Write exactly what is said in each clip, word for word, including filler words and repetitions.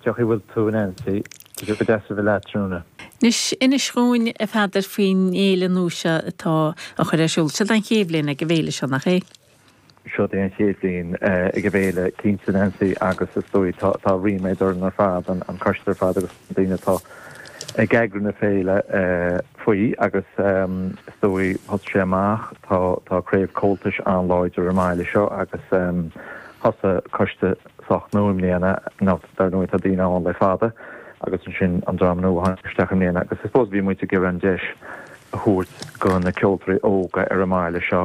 Cén chaoi a bhfuil tú, Nancy? Tá sé go deas a bheith leat tráthnóna. Anois, inis dhúinn, a Pheadair, faoin fhéile nua seo atá á chur ar siúl. Seo an chéad bhliain ag an bhféile seo, nach é? Seo é an chéad bhliain ag an bhféile, cinnte, Nancy, agus is dóigh tá tá ríméad orainn ar fad, an an coiste ar fad agus na daoine atá ag eagrú na féile faoi agus is dóigh thosaigh sé amach, tá tá craobh Comhaltais an-láidir ar an mbaile seo agus thosaigh coiste sách nua i mbliana, nó dar ndóigh tá daoine ann le fada agus ansin an dream nua a tháinig isteach i mbliana agus I suppose bhí muid ag iarraidh an deis a thabhairt go na ceoltóirí óga ar an mbaile seo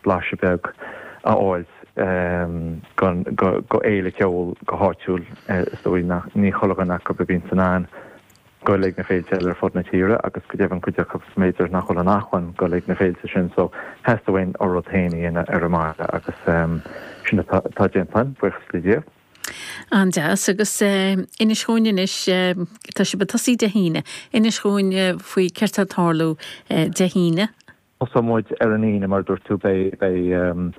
blaiseadh beag a fháil go go go fhéile ceoil go háitiúil. Is dóigh nach ní chuile dhuine acu a bhíonn in ann goil ag na féilte eile ar fud na tíre agus go deimhin cuid acu b'fhéidir nach bhfuil an acmhainn goil ag na féilte sin, so theastaigh uainn ár rud féin a dhéanamh ar an mbaile agus sin atá déanta, buíochas le Dia. An-deas. Agus inis dhúinn anois, tá sibh ag tosaí Dé hAoine, inis dhúinn faoi céard atá ag tarlú Dé hAoine. Tosóidh muid ar an Aoine, mar a dúirt tú, beidh beidh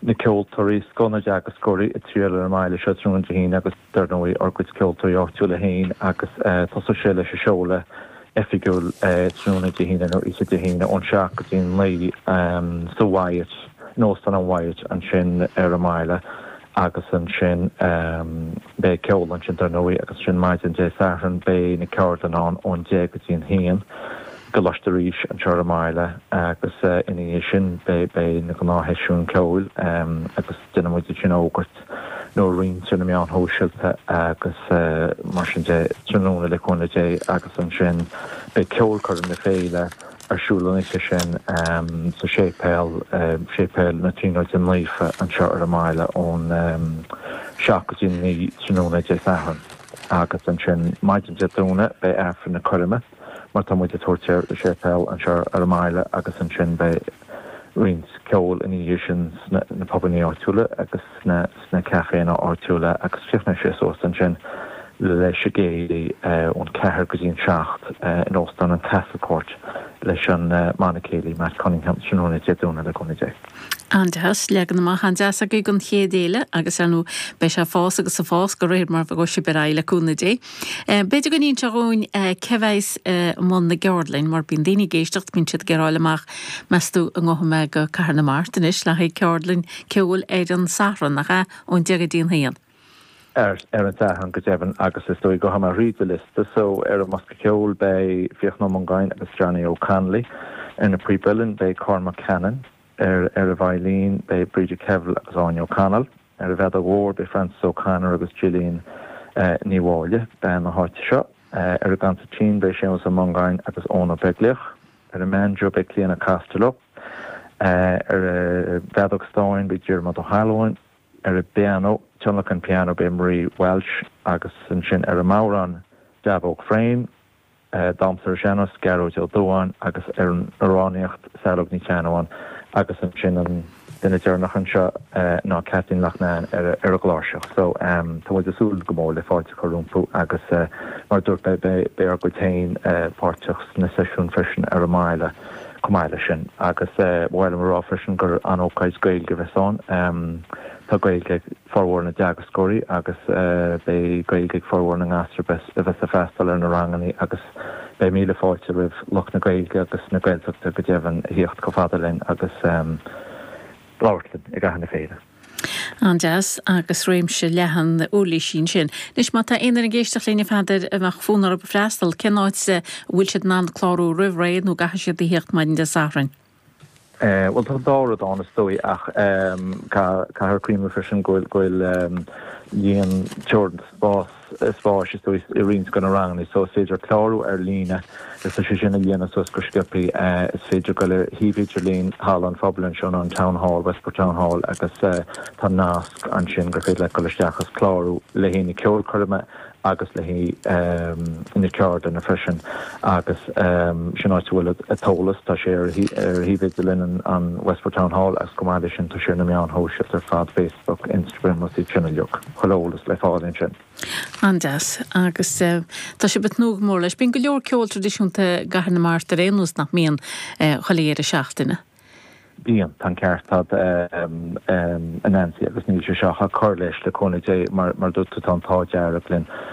na ceoltóirí, scoth na dteagascóirí ag triall ar an mbaile seo tráthnóna Dé hAoine agus dar ndóigh ár gcuid ceoltóirí áitiúla féin agus tosóidh sé leis an seoladh oifigiúil tráthnóna Dé hAoine nó oíche Dé hAoine ón seacht go dtí an naoi sa Wyatt, in Óstán an Wyatt ansin ar an mbaile agus ansin beidh ceol ansin dar ndóigh agus ansin maidin Dé Sathairn beidh na ceardlanna ann ón deich go dtí an haon i gColáiste Rís anseo ar an mbaile agus ina dhiaidh sin beidh beidh na gnáthsheisiúin ceoil agus déanfaidh muid sin a fhógairt nó a roinnt ar na meáin shóisialta agus mar sin de tráthnóna, le cúnamh Dé, agus ansin beidh ceolchoirm na féile ar siúl an oíche sin sa séipéal, Séipéal na Tríonóide Naofa anseo ar an mbaile, ón seacht go dtí a naoi tráthnóna Dé Sathairn agus ansin maidin Dé Domhnaigh beidh Aifreann na Coirme, mar tá muid ag tabhairt air, i séipéal anseo ar an mbaile agus ansin beidh roinnt ceoil ina dhiaidh sin sna na pubannaí áitiúla agus sna sna caiféanna áitiúla agus críochnóidh sé suas ansin leis an gcéilí ón ceathair go dtí an seacht in Óstán an Castlecourt leis an mbanna céilí Matt Cunningham tráthnóna Dé Domhnaigh, le cúnamh Dé. An-deas, leagan amach an-deas agaibh don chéad fhéile agus ar ndóigh beidh sé ag fás agus ag fás de réir mar a ghabhfaidh sibh ar aghaidh, le cúnamh Dé. B'fhéidir go n-inseofá dhúinn cé bheas i mbun na gceardlann, mar bíonn daoine ag éisteacht, bíonn siad ag iarraidh a fháil amach, meas tú an ngabhfaidh mé go Cathair na Mart anois le haghaidh ceardlann ceoil ar an Satharn, nach ea, ón deich go dtí an haon? ar ar an Satharn go deimhin agus is dóigh gabhfaidh mé thríd an liosta, so ar an mbosca ceoil beidh Fiachna Ó Mongáin agus Johnny O'Connolly, ar na píob uilleann beidh Cormac Cannon, ar ar an veidhlín beidh Bríde Kevill agus Áine O'Connell, ar an bhfeadóg mhór beidh Frances O'Connor agus Gillian Ní Mháille, bean na háite seo, ar an gconsairtín beidh Séamus Ó Mongáin agus Eoin Ó Beaglaoich, ar an mbanjo beidh Clíona Costello, ar an bhfeadóg stáin beidh Diarmuid Ó hAlmhain, ar an bpianó, tionlacan pianó, beidh Marie Walsh agus ansin ar an mbodhrán Daibhóg Frame, Damhsa ar an Sean-Nós, Gearóid Ó Dubháin agus ar an amhránaíocht Saileog Ní Cheannabháin agus ansin an duine deireanach anseo ná Kathleen Loughnane ar ar an gcláirseach. So tá muid ag súil go mór le fáilte a chur rompu agus mar a dúirt mé beidh ár gcuid féin páirteach sna seisiúin freisin ar an mbaile chomh maith leis sin. Agus ba mhaith liom a rá freisin gur an-ócáid Gaeilge a bheas ann. Tá Gaeilge ag formhór na dteagascóirí agus beidh Gaeilge ag formhór na ngasúr a bheas ag freastal ar na ranganna agus beidh míle fáilte roimh lucht na Gaeilge agus na Gaeltachta go deimhin a thíocht chomh fada linn agus labhairt linn i gcaitheamh na féile. An-deas, agus réimse leathan uirlisí ansin. Anois má tá aon duine ag éisteacht linn, a Pheadair, a mbeadh fonn orthu freastal, cén áit a bhfuil siad in ann clárú roimh ré nó an gcaithfidh siad a thíocht maidin Dé Sathairn? Bhuel, tá an dá rud ann is dóigh ach caithfear cuimhneamh freisin go bhfuil líon teoranta spás spáis is dóigh i roinnt de na ranganna so is féidir clárú ar líne is tá sé sin a dhéanamh suas go sciobthaí. Is féidir dul ar shuíomh idirlín Halla an Phobail anseo nó an Town Hall, Westport Town Hall agus tá nasc ansin gur féidir leat dul isteach agus clárú le haghaidh na ceolchoirme agus le haghaidh na ceardlanna freisin agus sin áit a bhfuil an t-eolas. Tá sé ar shuíomh idirlín an Westport Town Hall agus chomh maith leis sin tá sé ar na meáin shóisialta ar fad, Facebook, Instagram agus iad sin uilig. Chuile eolas le fáil ansin. An-deas. Agus tá sibh ag tnúth go mór leis. Bíonn go leor ceol traidisiúnta i gCathair na Mart ar aon nós, nach mbíonn, chuile dheireadh seachtaine? Bíonn, tá an ceart agat, a Nancy, agus níl sé seo ach ag cur leis, le cúnamh Dé, mar a dúirt tú, tá an t-ádh dearg linn.